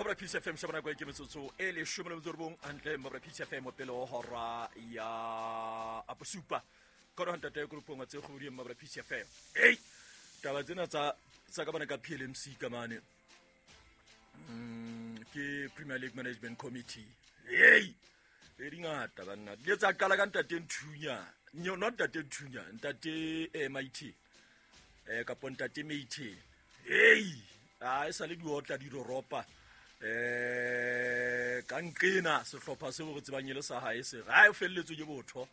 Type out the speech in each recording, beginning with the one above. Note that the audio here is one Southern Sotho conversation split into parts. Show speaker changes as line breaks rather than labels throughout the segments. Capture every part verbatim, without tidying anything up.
Mabra Peace F M shabana kwa ke metsotso e leshome le metso robong hantle Mabra Peace F M pele ho hora ya aposupa ka re ntate groupong tse kgodi Mabra Peace F M. Hey, taba tsena tsa tsa ka bana ka P L M C ka mane. Mm, ke Premier League Management Committee. Hey, e dingata banna. Di tsa qala ka ntate Nthunya. No, not ntate Nthunya, ntate M I T. Eh ka ntate Meite. Hey, a e sa le diotla di roropa. Eh ka nqena sehlopha seo re tsebang ele sa hae se ra e felletswe ke botho.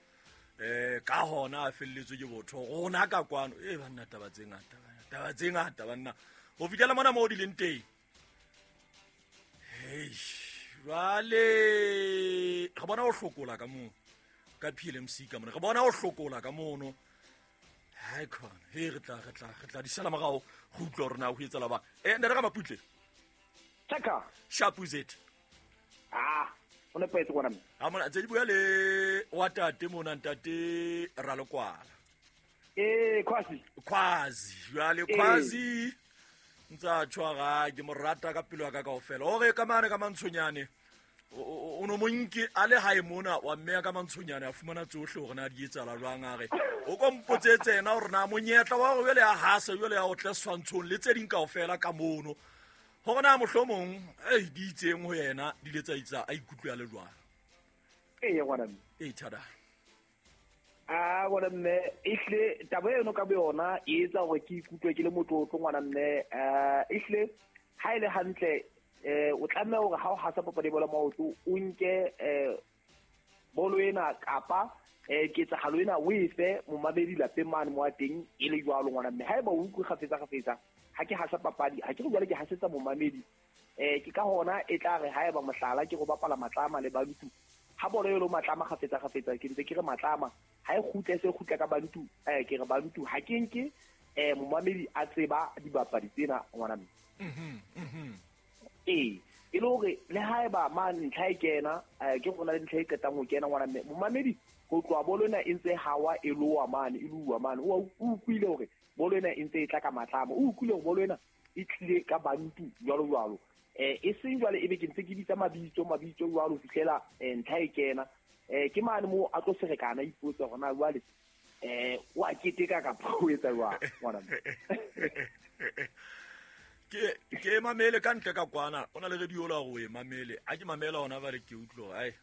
Eh ka hona a felletswe ke botho. Rona ka kwano e banna taba tse ngata banna. Taba tse ngata banna. Ho fihlela mona mo di leng teng. Hey, jwale re bona o hlokola ka moo ka P L M C ka mona. Re bona o hlokola ka mono. Hai khona, he re tla re tla re tla di sala morao go utlwa rona ho etsa la ba. Eh nna re ga Maputle.
Chaka.
Sharp is it?
Ah, o ne petse gona.
Ha mona tse di bua le wa tate mona ntate Ralekwala.
Eh, Kwazi.
Kwazi, jwale Kwazi. Ntsa tshwara ke morata ka pelo ya ka kaofela. Ore ka mane ka mantshonyane. O no monke a le hae mona wa mme ka mantshonyane a fumana tsohle hore na di etsala jwang a re. O ko mpotsetse yena hore na monyetla wa hore jwale ya hasa jwale ya o tle swantshong le tse ding kaofela ka mono. Hore na mohlomong eh di itseng ho yena di le tsa itsa a ikutlwe a le jwang.
Eh ngwana mme.
Eh thada.
Ah ngwana mme ehle taba eno ka boyona e etsa hore ke ikutlwe ke le motlotlo ngwana mme eh ehle ha ile hantle eh o tlameha hore ha o hasa papadi bolo maoto o nke eh bolo ena kapa eh ketsahalo ena o efe momamedi lapeng mane mo a teng e le jwalo ngwana mme haeba o utlwe kgafetsa kgafetsa ha ke hasa papadi ha ke re jwale ke hasetsa momamedi eh ke ka hona e tla re haeba mohlala ke go bapala Matlama le Bantu ha bolo e lo Matlama kgafetsa kgafetsa ke ntse ke re Matlama ha e kgutle se kgutla ka Bantu eh ke re Bantu ha ke nke eh momamedi a tseba dibapadi tsena ngwana mme.
Mhm mhm.
Eh e le hore le haeba ma ntlha e kena ke gona le ntlha e qetang ho kena ngwana mme momamedi ho tloha bolo ena e ntse hawa e loa mane e lua mane o utlwile hore bolo ena e ntse e tla ka Matlama o utlwile hore bolo ena e tlile ka Bantu jwalo jwalo eh e seng jwale ebe ke ntse ke bitsa mabitso mabitso jwalo fihlela ntlha e kena eh ke mane mo a tlo serekana ipotsa hore na jwale eh wa keteka kapa o etsa jwang ngwana mme.
Ke ke mamele ka ntle ka kwana ona le radio la go e mamele a ke mamela ona ba re ke utlwa ai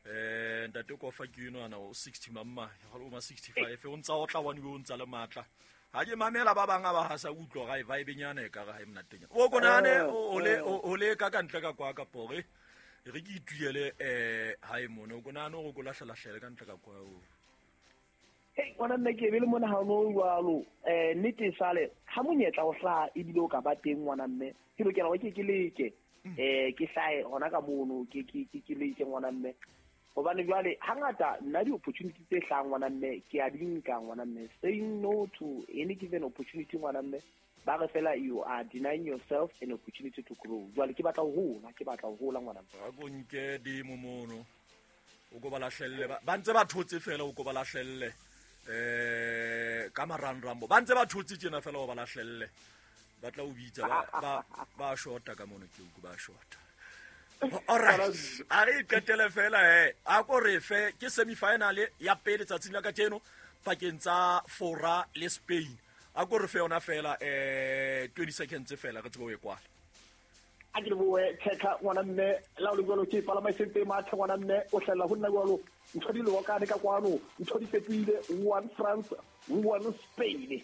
eh ntate ko fa ke eno ana o sixty mamma ga o ma sixty-five o ntsa o tla one o ntsa le matla ha ke mamela ba bang ba ha sa utlwa ga e vibe nyana e ka ga e mnatenya o konane o le o le ka ka ntle ka kwa ka pore re ke ituele eh ha e mona o konane o go lahlela hlele ka ntle ka kwa o.
Hey ngwana mme ke be le mona ha no jwalo eh nnete sale ha monyetla o hlaha ebile o ka ba teng ngwana mme ke lokela hore ke ke leke eh ke hlae hona ka mono ke ke ke leke ngwana mme hobane jwale hangata nna di opportunity tse hlahang ngwana mme ke a di nka ngwana mme saying no to any given opportunity ngwana mme ba re fela you are denying yourself an opportunity to grow jwale ke batla ho hola ke batla ho hola ngwana mme
a go nke dimo mono o go ba lahlelle ba ntse ba thotse fela o go ba lahlelle eh ka maranrambo ba ntse ba thotse tjena fela o ba lahlelle ba tla o bitsa ba ba ba shota ka mono ke o ba shota. All right, a re qetele fela he a ko re fe ke semi final ya pele tsatsing la kajeno pakeng tsa Fora le Spain a ko re fe yona fela eh twenty seconds fela re tsebe o e kwala.
A ke boe checka ngwana mme la o le jwalo ke palama e sentse mathe ngwana mme o hlella ho nna jwalo ntho di lokane ka kwano ntho di fetohile one France one Spain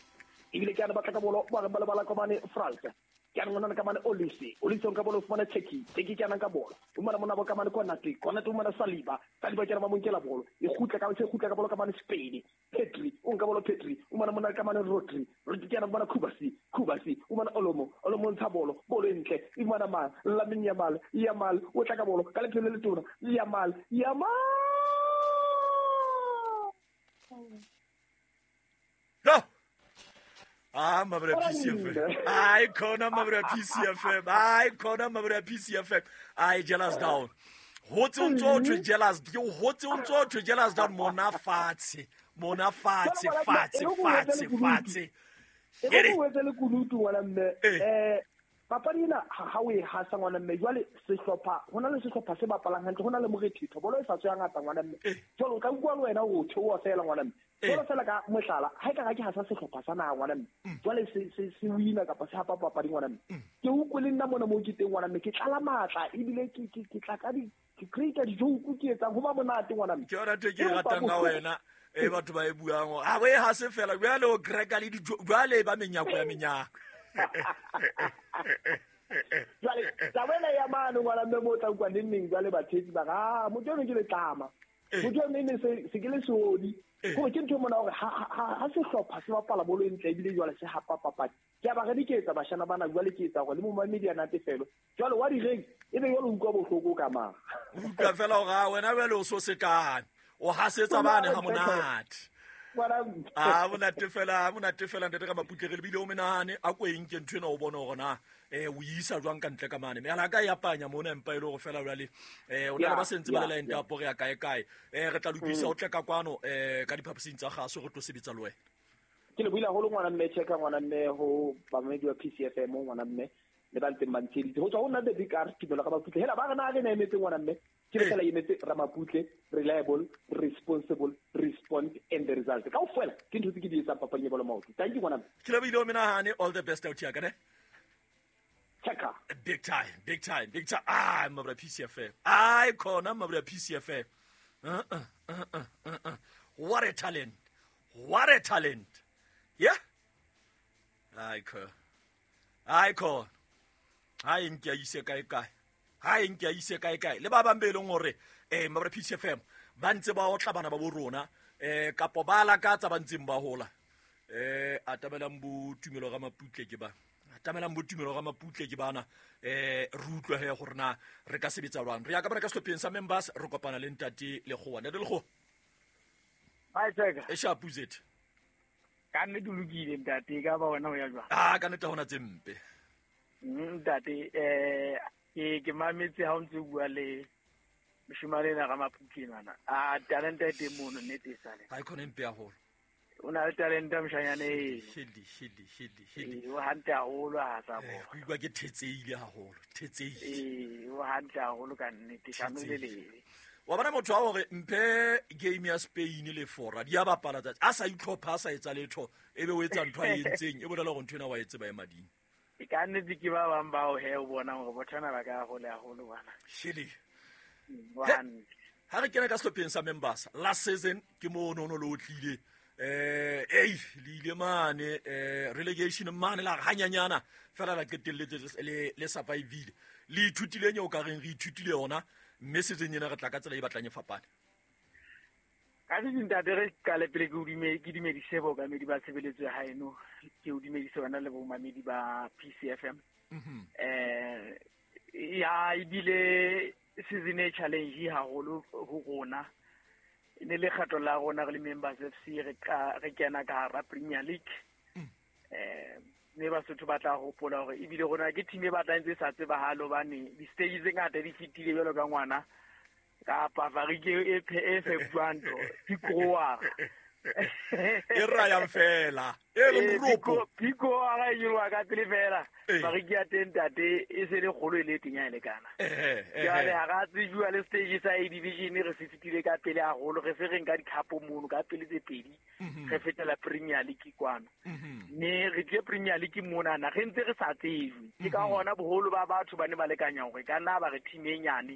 ebile ke ana batla ka bolo ba ba bala ka mane France ke ana ngwana ka mane Olise Olise ka bolo fumana Turkey Turkey ke ana ka bolo o mona mona ba ka mane Konate Konate o mona Saliba Saliba ke ana ba monkela bolo e khutla ka se khutla ka bolo ka mane Spain Pedri o nka bolo Pedri o mona mona ka mane Rodri Rodri ke ana bona Kubasi Kubasi o mona Olomo Olomo ntsha bolo bolo entle e mona mang Lamine Yamal Yamal o tla ka bolo ka lephelo le tona Yamal Yamal
No. Ah, Mabra P C F M. Ai khona Mabra P C F M. Ai khona Mabra P C F M. Ai jealous down. Hotse o ntso thwe jealous. Ke hotse o ntso thwe jealous down mona fatshe. Mona fatshe fatshe fatshe fatshe.
E go wetse le kunutu ngwana mme. Eh Papadi ena ha o e hasa ngwana mme jwale sehlopha hona le sehlopha se bapalang hantle hona le morethetho bolo e sa tswa ngata ngwana mme jwale o tla utlwa le wena o theoha fela ngwana mme jwale fela ka mohlala ha e ka ke hasa sehlopha sa naha ngwana mme jwale se se se wina kapa se hapa papadi ngwana mme ke utlwe le nna mona mo ke teng ngwana mme ke tlala matla ebile ke ke ke tla ka di ke create di-joke ke etsang ho ba monate ngwana mme
ke yona ntho e ke e ratang ka wena e batho ba e buang ha o e hase fela jwale o cracka le jwale ba menyako ya menyako.
Jwale taba ena ya mane ngwana mme mo tla utlwa neng neng jwale batheetsi ba re ah motho eno ke letlama motho eno ne se se ke le seodi gore ke ntho e mona hore ha sehlopha se bapala bolo e ntle ebile jwale se hapa papadi ke a ba re di ke etsa bashana bana jwale ke etsa hore le momamedi a natefelo jwale wa direng ebe jwale o utlwa bohloko ka mang
o utlwa fela hore a wena jwale o so sekane o hasetsa bane ha monate. Ah monate fela monate fela ntate ka Maputle re lebile o menahane a ko eng ke ntho ena o bone hore na eh o isa jwang ka ntle ka mane me ala ka ya panya mona empa ile hore fela jwale eh o na le ba sentse ba le line up re ya kae kae eh re tla lokisa o tle ka kwano eh ka diphaposing tsa gaso re tlo sebetsa le wena.
Ke le buile haholo ngwana mme checka ngwana mme ho bamamedi wa P C F M ngwana mme le ba ntseng ba ntsheditse ho tswa ho nna the big R Tumelo ka Maputle hela ba re na re na emetse ngwana mme ke le fela emetse Ramaputle reliable responsible respond and the result ka ofela ke ntho tse ke di etsang papading ya bolo maoto. Thank you ngwana mme.
Ke le buile o menahane all the best out here ka ne
checka
big time big time big time ah mabra P C F M ai khona mabra P C F M uh uh uh uh uh what a talent what a talent yeah ai kho ai kho ha e nke a ise kae kae ha e nke a ise kae kae le ba bang be leng hore eh mabra P C F M ba ntse ba otla bana ba bo rona eh kapo ba lakatsa ba ntseng ba hola eh atamelang bo Tumelo ga Maputle ke ba atamelang bo Tumelo ga Maputle ke bana eh re utlwe he gore na re ka sebetsa jwang re ya ka bana ka sehlopheng sa members re kopana le ntate Lekgowa ntate Lekgowa
hi Cheka
e sharp zet
ka nnete lokile ntate ka ba wena o ya jwang
ah ka nnete hona tse mpe
ntate eh ke ke mametse ha o ntse bua le moshemane ena ga Maputle ngwana a talente e teng mono nnete e sale
ha e khona mpe haholo
o na le talente moshanyane eno
shedi shedi shedi shedi
o hantle haholo ha sa bo
ke utlwa ke thetseile haholo thetseile
ee o hantle haholo ka nnete shano le lebe
wa bona motho wa hore mphe game ya Spain le Fora di a bapala tsatsi a sa itlhopha a sa etsa letho ebe o etsa ntho a entseng e bolela hore ntho ena wa e tseba e mading
e ka nnete ke ba bang bao he o bonang hore bothana ba ka hole haholo bana
shedi ha re kena ka sehlopheng sa members last season ke mo no no lo tlile eh ei le ile mane eh relegation mane la hanyanyana fela la qetelletse le le survivile le ithutile eng o ka reng re ithutile yona mme season ena re tla ka tsela e batlang e fapane
ka ntate re qale pele ke o dume ke dumedise bookamedi ba tshebeletso ya haeno ke o dumedise bana le bomamedi ba P C F M eh ya ebile season e challenge haholo ho rona e ne le kgato la rona re le members F C re ka re kena ka hara Premier League eh mme Basotho ba tla hopola hore ebile rona ke team e batlang tse sa tsebahalo hobane di-stage tse ngata di fetile jwalo ka ngwana kapa farike e e fepuang ntho pikoa
e rayang fela e le moropo
pikoa e nyoloha ka pele fela farike ya teng ntate e se le kgolo e le teng ya e lekana jwale ha ra tsejuwa le stage sa A division re se fetile ka pele haholo re se re nka dikhapo mono ka pele tse pedi re fetela Premier League kwano mme re tlile Premier League monana re ntse re sa tsejwe ke ka hona boholo ba batho ba ne ba lekanya hore ka nna ba re team e nyane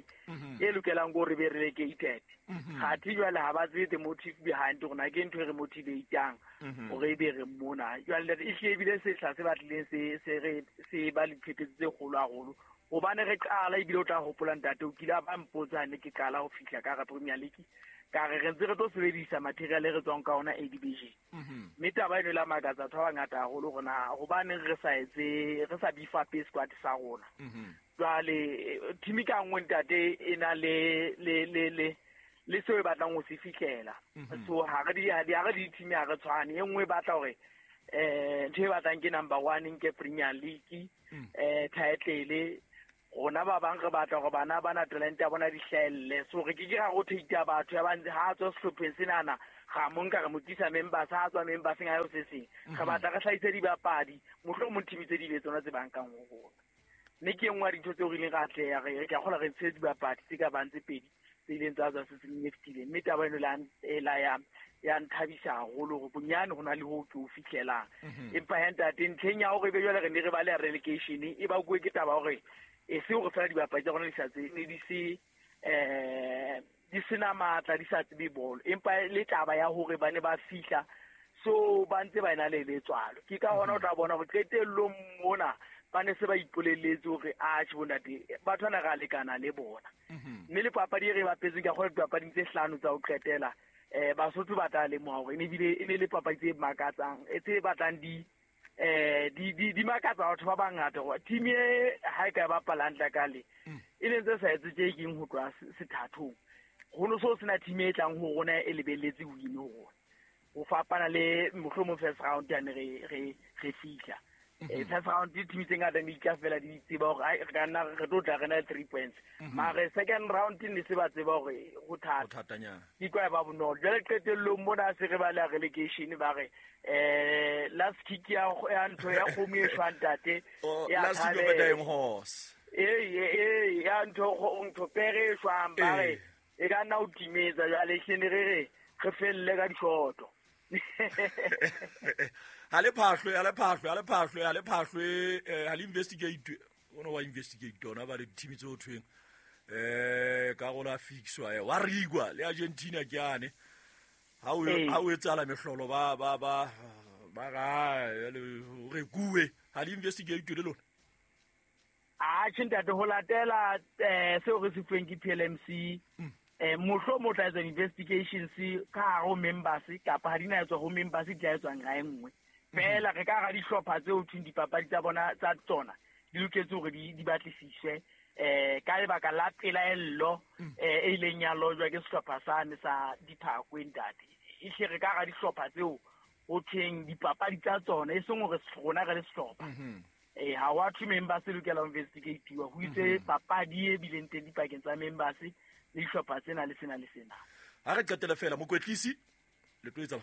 e lokelang hore be relegated kgathi jwale ha ba tsebe the motive behind rona ke ntho e re motivatang hore e be re mona jwale e hlile ebile sehla se batlileng se se re se ba le diphephetso tse kgolo haholo hobane re qala ebile o tla hopola ntate o kile a ba mpotsa ne ke qala ho fihla ka hara Premier League ka re re ntse re tlo sebedisa material e re tswang ka ona A division mme taba eno e la makatsa batho ba bangata haholo rona hobaneng re sa etse re sa beef up squad sa rona jwale team ka nngwe ntate e na le le le le le seo e batlang ho se fihlela so ha re di ha re di team ha re tshwane e nngwe e batla hore eh ntho e batlang ke number one nke Premier League eh title rona ba bang re batla hore bana ba na talent ya bona di hlahelle so re ke ke ra rotate batho ya ba ntse ha tswa sehlopheng senana ga mo nka re mo tlisa members ha tswa members ha yo se seng re batla re hlahise dibapadi mohlomong team tse di be tsona tse bankang ho rona Mme ke e nngwe ya dintho tseo re ileng ra atleha re ke a kgolwa re ntshitse dibapadi tse ka bang tse pedi tse ileng tsa tswa season e fetileng. Mme taba eno e la ya ya nthabisa haholo hore bonyane ho na le ho ke o fihlelang. Empa he ntate ntlheng ya hore ebe jwale re ne re baleha relegation e bakuwe ke taba hore e se hore fela dibapadi tsa rona di sa tse ne di se eh di sena matla di sa tsebe bolo, empa le taba ya hore ba ne ba fihla so ba ntse ba ena le letswalo. Ke ka hona o tla bona hore qetellong mona ba ne se ba ipolelletse hore a tjhe bontate batho bana ra lekana le bona. Mme le papadi e re bapetseng ka kgona dipapading tse hlano tsa ho qetela eh Basotho ba tla lemoha hore e ne bile e ne le papadi tse makatsang e tse batlang di eh di di di makatsa batho ba bangata hore team e ha e ka bapala hantle ka le e ne ntse sa etse tje keng ho tloha sethathong. Ho no so sena team e tlang ho rona e lebelletse win ho rona. Ho fapana le mohlomong first round ya ne re re re fihla. Eh first round di team tse ngata di tla fela di tseba hore re ka nna re tlo tla re na three points. Mare second round ne se ba tseba hore ho thata.
Ho thatanyana.
Di kwa ba bonolo. Jwale qetellong mona se re ba le relegation ba re eh last kick ya ya ntho ya kgomo e shwang ntate.
Ya last kick of a dying horse.
Eh eh ya ntho ntho pere e shwang ba re e ka nna o timetsa jwale hlene re re re felle ka dishoto.
Ha le phahlwe ha le phahlwe ha le phahlwe ha le phahlwe ha le investigate ono wa investigate ona ba le team tse ho thweng eh ka gola fixwa wa rigwa le Argentina ke ane ha o ha o etsala mehlolo ba ba ba ba ga re kuwe ha le investigate le lona.
A tjhe ntate ho latela eh seo re se fuweng ke P L M C eh mohlo mo tla etsa investigations ka hare ho members kapa ha di na etswa ho members di tla etswa nga e nngwe. Fela re ka ra dihlopha tseo thweng dipapadi tsa bona tsa tsona di loketse hore di di batlisiswe eh ka lebaka la pelaello eh e ileng ya lojwa ke sehlopha sane sa Diphakwe ntate. E hle re ka ra dihlopha tseo ho thweng dipapadi tsa tsona e seng hore rona re le sehlopha. Eh ha wa thwe members e lokela ho investigate-iwa ho itse papadi e bileng teng dipakeng tsa members le dihlopha tsena le sena le sena.
Ha re qetela fela mokwetlisi le tlo etsa.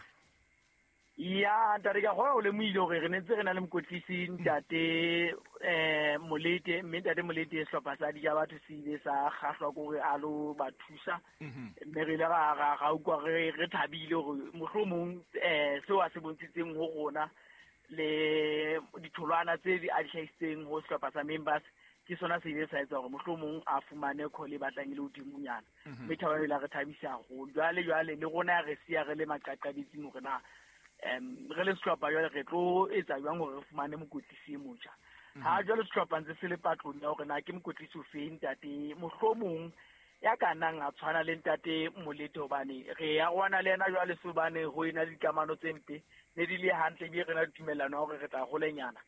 Ya ntate ka go le moile hore re ne ntse re na le mokwetlisi ntate eh Molete, mme ntate Molete sehlopha sa di ja batho se ile sa kgahlwa ke hore a lo ba thusa. Mme re ile ra ra ra utlwa re re thabile hore mohlomong eh seo a se bontshitseng ho rona le ditholwana tse di a di hlahisitseng ho sehlopha sa members ke sona se ile sa etsa hore mohlomong a fumane call e batlang e le hodimonyana. Mme thaba e la re thabisa haholo. Jwale jwale le rona re siya re le maqaqabetsing hore na em re le sehlopha jwale re tlo etsa jwang hore re fumane mokwetlisi e motjha. Ha jwale sehlopha ntse se le patlong ya hore na ke mokwetlisi o fe ntate mohlomong ya ka nang a tshwana le ntate Molete hobane re ya rwana le yena jwale se hobane ho ena le dikamano tse mpe ne di le hantle ebile re na le tumellano ya hore re tla holenyana.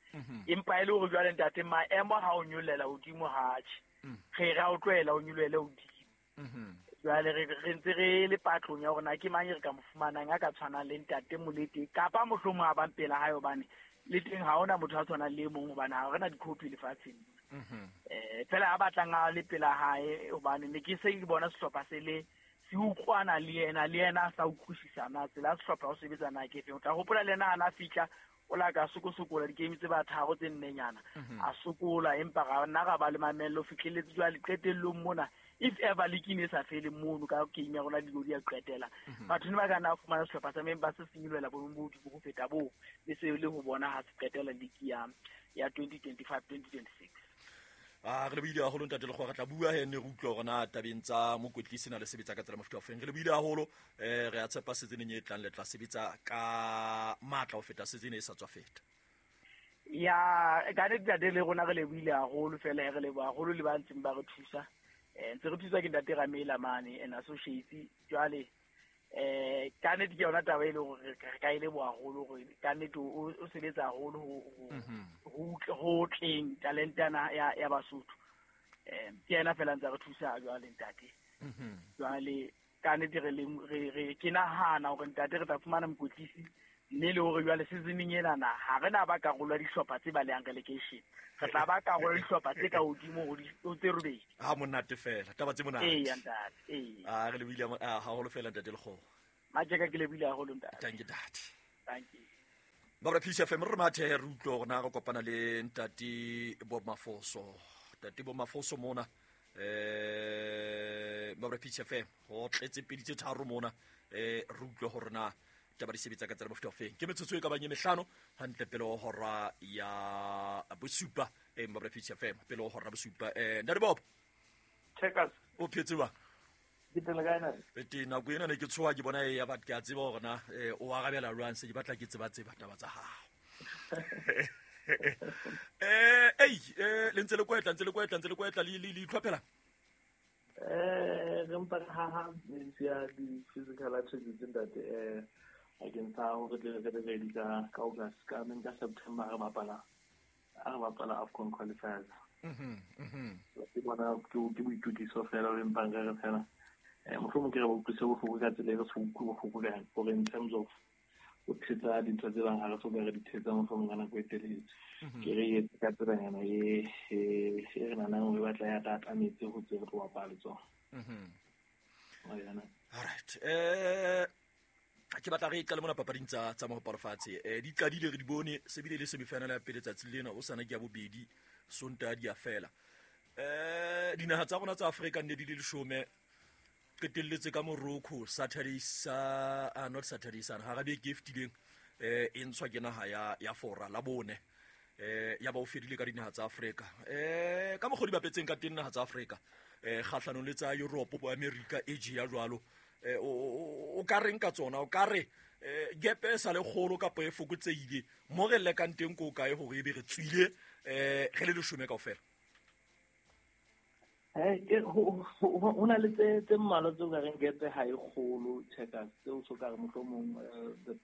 Empa e le hore jwale ntate maemo ha o nyollela hodimo ha tjhe re ra o tlohela o nyolohele hodimo. Jwale re re ntse re le patlong ya hore na ke mang e re ka mo fumanang a ka tshwanang le ntate Molete kapa mohlomong a bang pela hae hobane le teng ha hona motho a tshwanang le e mong hobane ha re na di-copy lefatsheng. Eh fela ha batlang a le pela hae hobane ne ke se ke bona sehlopha se le se utlwana le yena le yena a sa utlwisisana tsela ya sehlopha ho sebetsa na ke efeng. O tla hopola le yena ha na fihla o la ka sokosokola di-game tse ba tharo tse nnenyana a sokola empa ra nna ra ba le mamello fihlelletse jwale qetellong mona if ever league e ne sa fele mono ka game ya rona dilo di a qetela batho ne ba ka nna fumana sehlopha sa members se senyelohela boemong bo hodimo ho feta boo le se le ho bona ha se qetela league ya ya twenty twenty-five twenty twenty-six.
Ah re le buile haholo ntate Lekgowa, re tla bua he ne re utlwa hore na tabeng tsa mokwetlisi na le sebetsa ka tsela mofuta ofeng. Re le buile haholo eh re a tshepa season e tlang le tla sebetsa ka matla ho feta season e sa tswa feta.
Ya ka nnete ntate le rona re le buile haholo fela re leboha haholo le ba ntseng ba re thusa. Eh ntse re thusa ke ntate Ramela mane and associates jwale eh ka nnete ke yona taba e leng hore re ka e leboha haholo hore ka nnete o sebetsa haholo ho ho tleng talentana ya ya Basotho. Eh ke yena fela ntse re thusa jwale ntate. Jwale ka nnete re le re ke nahana hore ntate re tla fumana mokwetlisi mme le hore jwale seasoning ena na ha re na ba karolo ya dihlopha tse balehang relegation, re tla ba karolo ya dihlopha tse ka hodimo ho tse robedi.
Ha monate fela taba tse monate.
Ee ntate, ee.
Ah re lebile haholo fela ntate Lekgowa.
Majeka ke lebile haholo ntate.
Thank you ntate.
Thank you.
Ba re Peace F M re mathe re utlwe hore na re kopana le ntate Bob Mafoso. Tate bo Mafoso mona eh Mabra P F M ho tletse pedi tse tharo mona eh re utlwe hore na taba di sebetsa ka tsela mofuta ofeng. Ke metsotso e ka bang e mehlano hantle pele ho hora ya bosupa eh Mabra P F M pele ho hora bosupa. Eh Ntate Bob
Checkers
o phetse ba
ke tele kae na
ete nako ena ne ke tshoha ke bona e ya bat ke a tseba hore na o arabela jwang se ke batla ke tseba tseba taba tsa hao. Eh ei eh le ntse le kwetla ntse le kwetla ntse le kwetla le le itlhophela
eh re mpa ha ha ya di physical attributes ntate eh against ha hore re re ready ka ka August ka men ka September re bapala re bapala AFCON qualifiers.
Mhm mhm
ke bona ke ke boitukiso fela re mpa re re fela eh mohlomong ke re ba utlwise bohloko ka tsela e re se utlwe bohloko ka yona gore in terms of o thetsa dintho tse bang ha re so ka re di thetsa mohlomong ka nako e telele ke re etse ka tselanyana e e re nanang re batla ya tatametse ho tse re tlo bapala le tsona.
Mhm
all
right eh ke batla re qale mona papading tsa tsa mohopolo fatshe eh di qadile re di bone se bile le semifinal ya pele tsatsi lena o sana ke ya bobedi Sontaha di a fela. Eh dinaha tsa rona tsa Afrika nne di le leshome qetelletse ka Morocco Saturday sa ah, not Saturday sa ha ra beke e fetileng eh e ntshwa ke naha ya ya Fora la bone eh ya ba o fedile ka dinaha tsa Afrika eh ka mokgwa di bapetseng ka teng naha tsa Afrika eh kgahlanong le tsa Europe bo America Asia jwalo eh o ka reng ka tsona o ka re eh gap e sa le kgolo kapa e fokotseile mo re lekang teng ko kae hore ebe re tswile eh re le leshome kaofela.
Eh ke ho na le tse tse mmalwa tseo ka reng gap ha e kgolo checkers tseo so ka re mohlomong the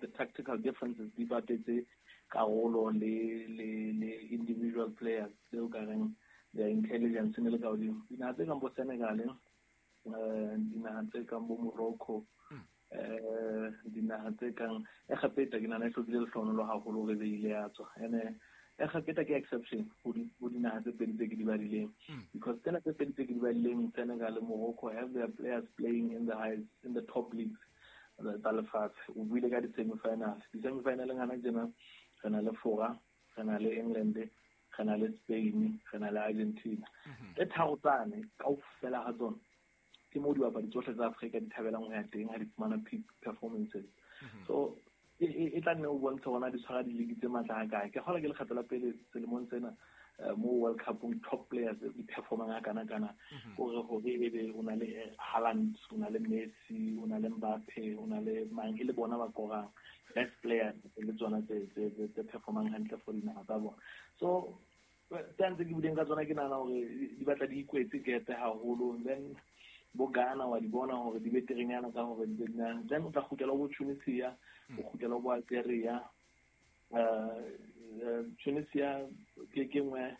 the tactical differences di bapetse karolo le le le individual players tseo ka reng their intelligence ne le ka hodimo. Dinaha tse kang bo Senegal eh dinaha tse kang bo Morocco eh dinaha tse kang Egepeta ke nahana e hlokile lehlohonolo haholo hore be ile ya tswa ene Egepeta ke exception ho dinaha tse pedi tse ke di badileng because tsena tse pedi tse ke di badileng Senegal le Morocco have their players playing in the highest in the top leagues tsa lefatshe. O buile ka di-semifinals di-semifinaleng hana tjena re na le Fora re na le England re na le Spain re na le Argentina tse tharo tsane kaofela ha tsona ke moo dibapadi tsohle tsa Afrika di thabelang ho ya teng ha di fumana peak performances. So e tla nne o bontshe hore na di tshwara di-league tse matla ha kae. Ke kgolwa ke lekgetlo la pele selemong sena mo World Cup-ong top players di performang ha kana kana hore hore ebe o na le Haaland o na le Messi o na le Mbappe o na le mang e le bona ba korang best players le tsona tse tse tse performang hantle for dinaha tsa bona. So tse ntse ke buileng ka tsona ke nahana hore di batla di ikwetse gap haholo then bo Ghana wa di bona hore di beterenyana ka hore di na then o tla kgutlela bo Tunisia o kgutlela bo Algeria eh Tunisia ke ke nngwe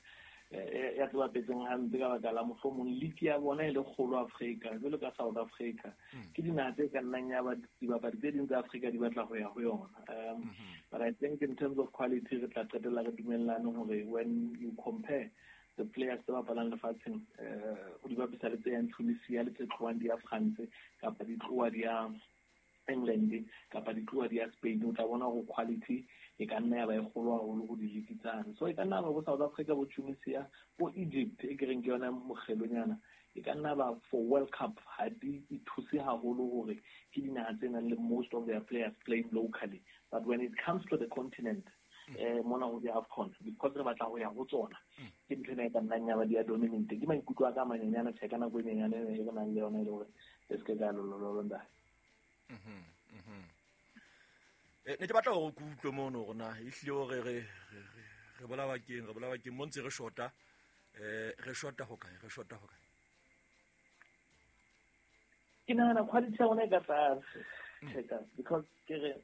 ya tse bapetseng hampe ka baka la mohlomong league ya bona e le kgolo Afrika jwalo ka South Africa ke dinaha tse ka nnang ya ba dibapadi tse ding tsa Afrika di batla ho ya ho yona. Um but I think in terms of quality re tla qetella re dumellane hore when you compare the players tse bapalang lefatsheng eh o di bapisa le tse yang Tunisia le tse tlohang di ya France kapa di tloha di ya England kapa di tloha di ya Spain o tla bona hore quality e ka nna ya ba e kgolo haholo ho di-league tsane. So e ka nna ba bo South Africa bo Tunisia bo Egypt e ke reng ke yona mokgelonyana e ka nna ba for World Cup ha di ithuse haholo hore ke dinaha tse nang le most of their players playing locally but when it comes to the continent eh mona ho di AFCON because re batla ho ya ho tsona ke ntho ena e ka nnang ya ba di a dominate. Ke maikutlo a ka manyenyana tjhe ka nako e nyenyane e re nang le yona e le hore e se ke ka lolololo ntate.
Mhm mhm eh ne ke batla hore ke utlwe mono hore na ehlile hore re re bolawa keng re bolawa keng mo ntse re shota eh re shota ho kae re shota ho kae.
Ke nahana quality ya rona e ka tlase checkers because ke re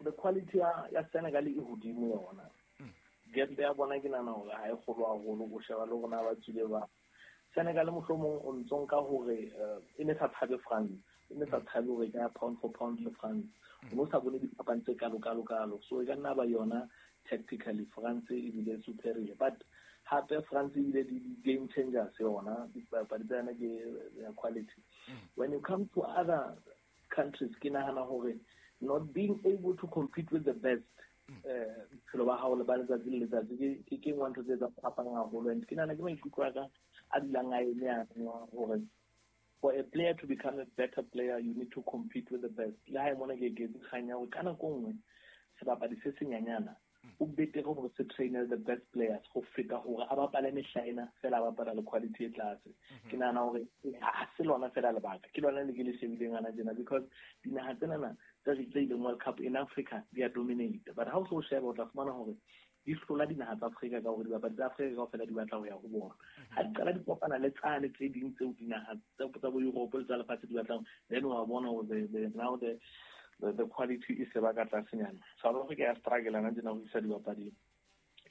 the quality ya ya Senegal e hodimo yona gap ya bona ke nahana hore ha e kgolo haholo o sheba le rona ba tswile ba Senegal mohlomong o ntso nka hore e ne sa tshabe France e ne sa tshabe hore ka pound for pound le France o no sa bone diphapang tse kalo kalo kalo so e ka nna ba yona tactically France e bile superior but hape France e bile di game changers yona dipapadi tsa yona ke quality. When you come to other countries ke nahana hore not being able to compete with the best bophelo ba hao le ba letsatsi le letsatsi ke ke nngwe ntho tse etsang phapang haholo. And ke nahana ke maikutlo a ka a dulang a eme a hore for a player to become a better player, you need to compete with the best. Le ha e mona ke eketse kgang ya hore ka nako nngwe sebapadi se senyanyana o betere hore se trainer the best players ho feta hore a bapale mehla ena fela a bapala le quality e tlase. Ke nahana hore ha se lona fela lebaka, ke lona le ke le shebileng hana tjena, because dinaha tsenana tse tse ileng World Cup in Africa di a dominate, but ha o so sheba o tla fumana hore di hlola dinaha tsa Afrika ka hore dibapadi tsa Afrika kaofela di batla ho ya ho bona. Ha di qala di kopana le tsane tse ding tseo dinaha tsa tsa bo Europe le tsa lefatshe di batlang, then wa bona hore the, the, now the the, the quality e se ba ka tlasenyana. South Africa ya struggle ana tjena ho isa dibapadi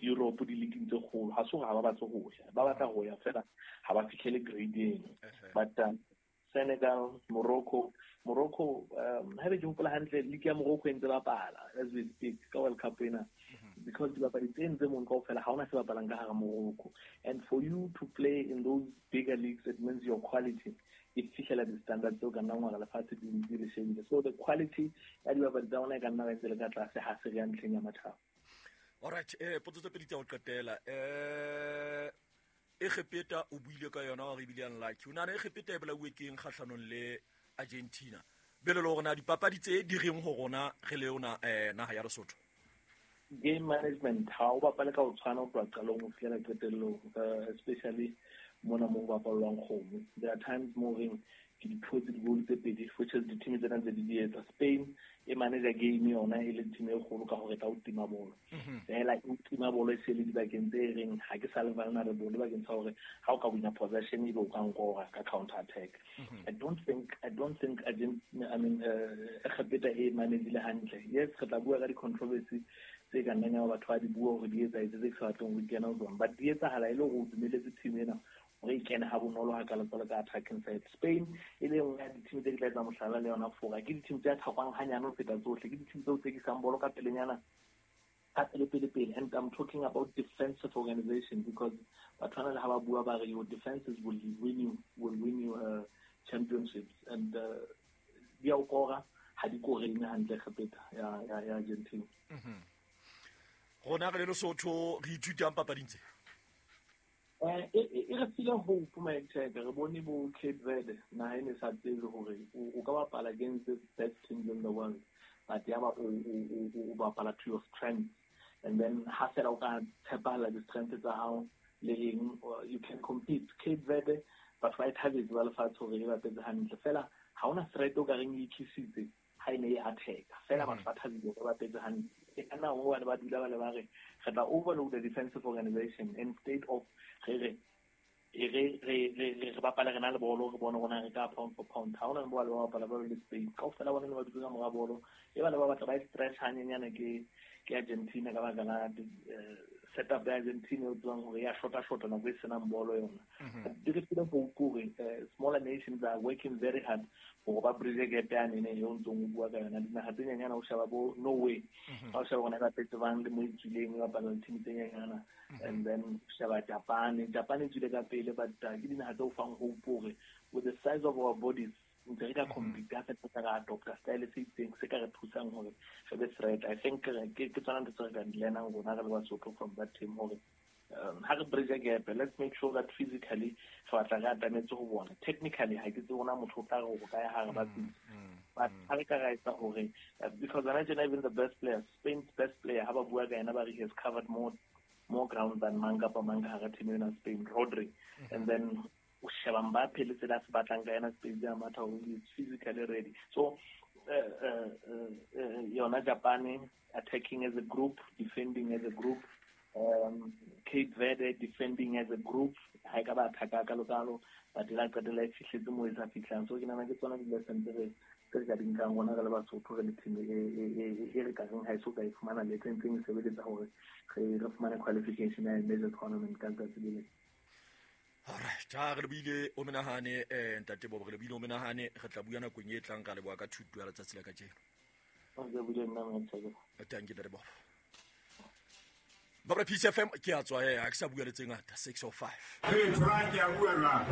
Europe di-league tse kgolo. Ha se hore ha ba batle ho ya, ba batla ho ya fela ha ba fihlele grade eno. But um, Senegal, Morocco, Morocco, um, ha be ke hopola hantle, league ya Morocco e ntse bapala as we speak ka World Cup ena, because dibapadi tse ntse mong kaofela ha hona se bapalang ka hara Morocco. And for you to play in those bigger leagues, it means your quality e fihlela di-standards tseo ka nnang hore lefatshe di di le shebile. So the quality ya dibapadi tsa rona e ka nna ba ntse le ka tlase ha se re ya ntlheng ya matjhaba.
Alright, eh potso tse pedi tsa ho qetela. Eh Egepeta o buile ka yona hore ebile unlucky. O nahana Egepeta e bolauwe keng kgahlanong le Argentina? Bele le hore na dipapadi tse di reng ho rona re le yona eh naha ya Lesotho?
Game management, ha o bapale ka ho tshwana ho tloha qalong ho fihlela qetellong, uh, especially mona mo ho bapallwang kgomo. There are times mo reng ke di thotse di-goal tse pedi, which is di-team tsena ntse di di etsa. Spain e manager game yona e le team e kgolo ka hore e tla o tima bolo. Fela e o tima bolo e se le dibakeng tse reng ha ke sa le vulnerable bakeng sa hore ha o ka wina possession ebe o ka nkora ka counter attack. I don't think I don't think Argentina, I mean uh, Egepeta e managile hantle. Yes, re tla bua ka di-controversy tse ka nnang ya batho ba di bua hore di etsahetse tse ke sa batleng ho kena ho tsona, but di etsahala e le hore o dumeletse team ena hore e kene ha bonolo ha kalo jwalo ka attacking side. Spain e le nngwe ya di-team tse ke tla etsa mohlala le yona Fora, ke di-team tse attack-wang hanyane ho feta tsohle, ke di-team tseo tsekisang bolo ka pelenyana ka pele pele pele. And I'm talking about defensive organization, because batho bana le ha ba bua ba re your defenses will win you, will win you uh, championships, and uh, di a o kora ha di koreng hantle Egepeta ya ya ya Argentina.
Rona re le Lesotho re ithutang papading tse?
Eh e re file hope my check. Re bone bo Cape Verde naha e ne sa tsebe hore o ka bapala against the best teams in the world, but ya ba o o bapala to your strength, and then ha fela o ka tshepahala di-strength tsa hao le eng, you can compete. Cape Verde batho ba e thabetse ba lefatshe hore e bapetse hantle, fela ha hona threat o ka reng e itlisitse ha e ne e attack. Fela batho ba thabile hore ba bapetse hantle. E ka nna hobane ba dula ba le ba re re tla overload the defensive organization instead of re re re re re re bapala re na le bolo, re bone rona re ka pound for pound. Ha hona bo ba bapala ba le Spain kaofela bona ne ba dutse ka mora bolo, e ba le ba batla ba e stretch hanyenyana ke ke Argentina ka baka la setup ya Argentina o tswang hore ya shota shota nako e senang bolo yona. Di re file hope hore smaller nations are working very hard hore ba bridge gap yane ne eo ntsong o bua ka yona. Dinaha tse nyenyana o sheba bo Norway, ha o sheba rona ba bapetse bang le mo e tswileng ba bapala le team tse nyenyana, and then sheba Japan. Japan e tswile ka pele, but ke dinaha tse o fang hope hore with the size of our bodies ntse re ka compete ha fela re adopta style se itseng se ka re thusang hore re be threat. I think ke ke tsona ntho tse re ka di learnang rona re le Basotho from that team hore um, ha re bridge gap, let's make sure that physically re batla re atametse ho bona. Technically ha ke tsebe rona motho o tla re ho kae ha re ba tsitse, but ha re ka ra etsa hore because hona tjena even the best players, Spain's best player ha ba bua ka yena ba re he has covered more more ground than mang kapa mang ka hara team ena Spain, Rodri. And then o sheba Mbappe le tsela se batlang ka yena Spain ya matha hore he is physically ready. So uh, uh, uh, yona Japan attacking as a group, defending as a group, um, Cape Verde defending as a group, ha e ka ba attack ka lokalo, but la qetella e fihletse moo e sa fihlang. So ke nahana ke tsona di-lesson tse re tse re ka di nkang rona re le Basotho re le team e e re ka reng ha e so ka e fumana le tse ntseng e sebeletsa hore re re fumane qualification ya major tournament ka letsatsi le leng.
Alright, ha re lebile o menahane eh ntate Bobo, re lebile o menahane, re tla bua nakong e tlang. Ka leboha ka thuto ya letsatsi la kajeno. Thank you ntate Bobo. Babra Peace F M ke a tswa, eh ha ke sa bua le tse ngata. Six oh five.
Hey, Frank, ya bua jwang?